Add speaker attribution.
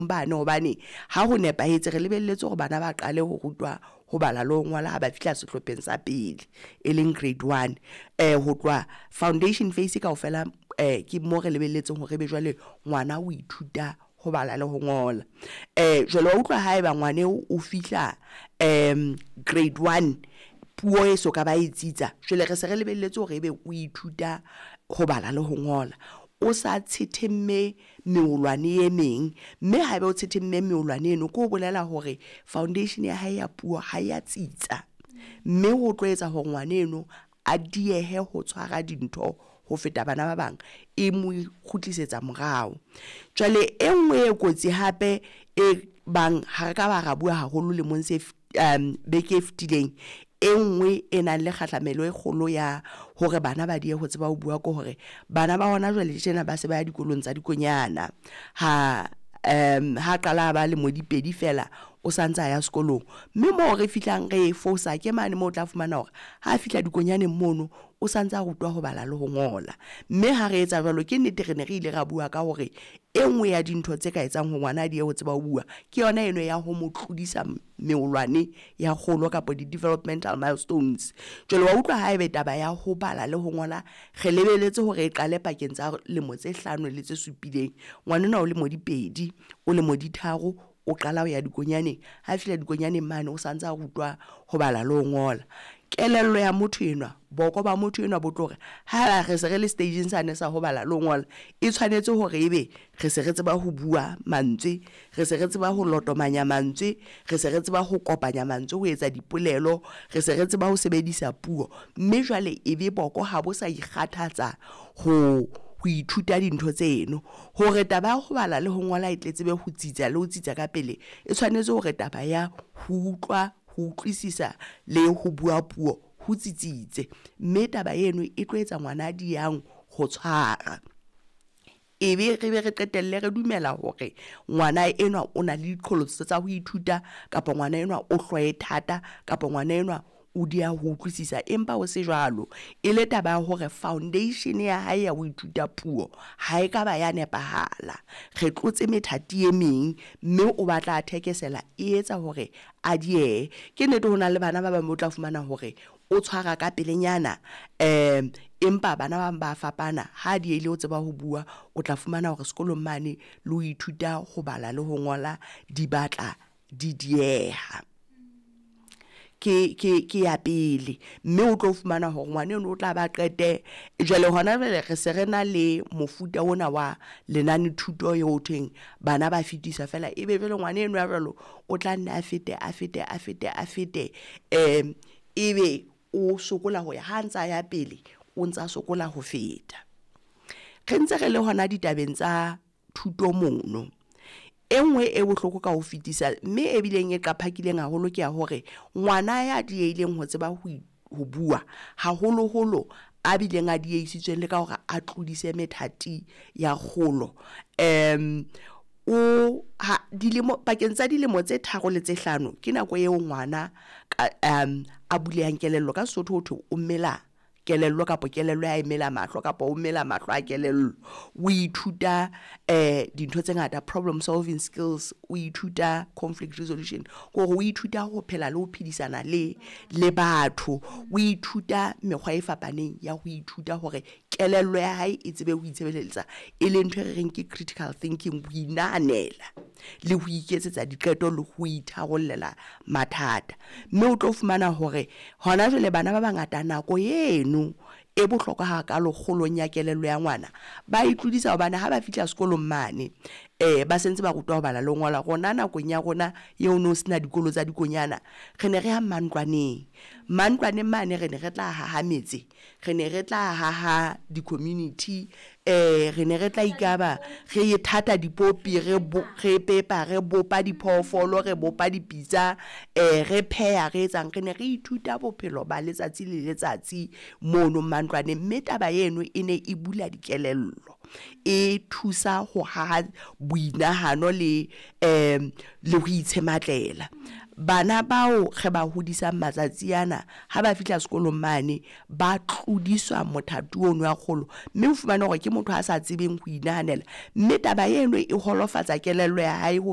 Speaker 1: Bane hobane ha ho nepahetse re lebelletse hore bana ba qale ho rutwa ho bala le ho ngola ha ba fihla sehlopheng sa pele, e leng grade 1. Ho tloha foundation phase kaofela ke mo re lebelletseng hore ebe jwale ngwana o ithuta ho bala le ho ngola. Jwale wa utlwa haeba ngwana eo o fihla grade 1 puo e so ka ba e tsitsa, jwale re se re lebelletse hore ebe o ithuta ho bala le ho ngola. O sa tshethemme meolwane e meng, mme haeba o tshethemme meolwane eno, ke ho bolela hore foundation ya hae ya puo ha ya tsitsa, mme ho tlo etsa hore ngwana eno a diehe ho tshwara dintho ho feta bana ba bang, e mo kgutlisetsa morao. Jwale e nngwe e kotsi hape e bang ha re ka ba ra bua haholo lemong se beke e fitileng, e nngwe e nang le kgahlamelo e kgolo ya hore bana ba diehe ho tseba ho bua ke hore bana ba hona jwale tjena ba se ba ya dikolong tsa dikonyana. Ha ha qala ba lemo di pedi fela o santsa ya sekolong, mme moo re fihlang re fosa ke mane moo o tla fumana hore ha fihla dikonyaneng mono o santsa rutwa ho bala le ho ngola. Mme ha re etsa jwalo, ke nnete re ne re ile ra bua ka hore e nngwe ya dintho tse ka etsang hore ngwana a diehe ho tseba ho bua ke yona eno ya ho mo tlodisa meolwane ya kgolo kapa di-developmental milestones. Jwale wa utlwa haebe taba ya ho bala le ho ngola re lebelletse hore e qale pakeng tsa lemo tse 5 le tse supileng, ngwana enwa o lemo di 2, o lemo di 3, o qala ho ya dikonyaneng. Ha fihla dikonyaneng mane o santsa rutwa ho bala le ho ngola. Kelello ya motho enwa, boko ba motho enwa bo tlo re ha re se re le stage-ing sane sa ho bala le ho ngola, e tshwanetse hore ebe re se re tseba ho bua mantswe, re se re tseba ho lotomanya mantswe, re se re tseba ho kopanya mantswe ho etsa dipolelo, re se re tseba ho sebedisa puo, mme jwale ebe boko ha bo sa ikgathatsa ho ithuta dintho tseno. Hore taba ya ho bala le ho ngola e tle tsebe ho tsitsa le ho tsitsa ka pele, e tshwanetse hore taba ya ho utlwa, ho utlwisisa le ho bua puo ho tsitsitse, mme taba eno e tlo etsa ngwana a diehang ho tshwara. Ebe re be re qetelle re dumela hore ngwana enwa o na le diqholotso tsa ho ithuta, kapa ngwana enwa o hlooho e thata, kapa ngwana enwa o dieha ho utlwisisa, empa ho se jwalo. E le taba ya hore foundation ya hae ya ho ithuta puo ha ekaba ya nepahala. Re tlotse methati e meng, mme o batla a thekesela e etsa hore a diehe. Ke nnete ho na le bana ba bang o tla fumana hore o tshwara ka pelenyana, empa bana ba bang ba fapana. Ha diehile ho tseba ho bua, o tla fumana hore sekolong mane le ho ithuta ho bala le ho ngola di batla di dieha. Ke ya pele, mme o tlo fumana hore ngwana eno o tla ba qete jwale hona jwale re se re na le mofuta ona wa lenane thuto eo ho thweng bana ba fetiswa fela, ebe jwale ngwana enwa ya jwalo o tla nne a fete, a fete, a fete, a fete, ebe o sokola ho ya ha ntsa ya pele, o ntsa sokola ho feta. Re ntse re le hona ditabeng tsa thuto mono, e nngwe e bohloko ka ho fetisa mme e bileng e qaphakileng haholo ke ya hore ngwana ya diehileng ho tseba ho bua, haholoholo a bileng a diehisitsweng le ka hore a tlodise methati ya kgolo, o ha dilemo pakeng tsa dilemo tse 3 le tse 5 ke nako eo ngwana ka a bulehang kelello. Ka Sesotho ho thwe o mela kelello kapa kelello ya emela mahlo kapa o mela mahlo a kelello. O ithuta dintho tse ngata, problem solving skills, o ithuta conflict resolution, hore o ithuta ho phela le ho phedisana le batho, o ithuta mekgwa e fapaneng ya ho ithuta hore kelello ya hae e tsebe ho itshebeletsa, e leng ntho e re reng ke critical thinking, ho inahanela le ho iketsetsa diqeto le ho itharollela mathata. Mme o tlo fumana hore hona jwale bana ba bangata nako eno e bohlokwa hakalo kgolong ya kelello ya ngwana, ba e tlodisa hobane ha ba fihla sekolong mane, ba sentse ba rutwa ho bala le ho ngola. Rona nakong ya rona eo no sena dikolo tsa dikonyana, re ne re ya mantlwaneng, mantlwaneng mane re ne re tla haha metse, re ne re tla haha di-community, re ne re tla ikaba re thatha dipopi, re re pepa, re bopa diphoofolo, re bopa dipitsa, re pheha, re etsang, re ne re ithuta bophelo ba letsatsi le letsatsi mono mantlwaneng, mme taba eno e ne e bula dikelello, e thusa ho haha boinahano le le ho itshematlela. Bana bao re ba hodisang matsatsi ana ha ba fihla sekolong mane, ba tlodiswa mothati ono wa kgolo, mme o fumane hore ke motho a sa tsebeng ho inahanela, mme taba eno e holofatsa kelello ya hae ho.